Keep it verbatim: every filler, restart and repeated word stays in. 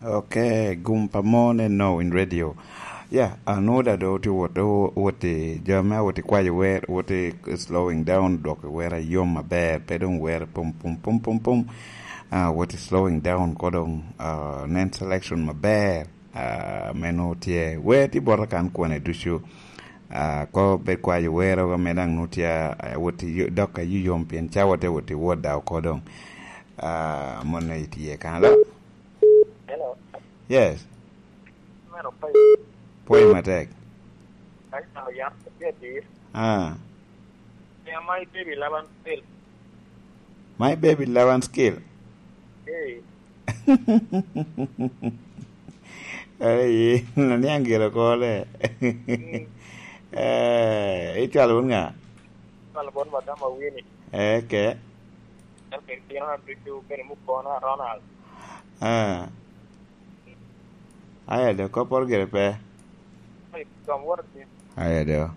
Ok, gum pa mon en no in radio. Ya, anwoda do tye wot, wot i jo me awot i kwayo wer, wot i slowing down, dwoko wer ayom aber, pe dong wer pum, pum, pum, pum, pum. Ah, wot i slowing down ko dong, ah, nen selection maber, ah, me nwo tye. Wer tye bota kan kwane ducu. Ah, ko bed kwayo wer oga me dang nwo tye, ah, wot i yo-, dok ayuyom pien cawa tye wot i wot da oko dong. Ah, mon aye tye kan. Alo? Hello. Yes. Meno pe. Pwoyo matek. Ka icamo yat, tye atir. Ah. Pien my baby eleven skill. My baby eleven skill. Hey. Hey, na niaŋ gire kole. Mm. Eh, icwalo wun ŋa? Icwalo bot madam Awini. Eh, ke. En kede tino na ducu, kede mukona Ronald. Ah. Aya do, kopporo gire pe. Ai, kom wot ati. Aya do.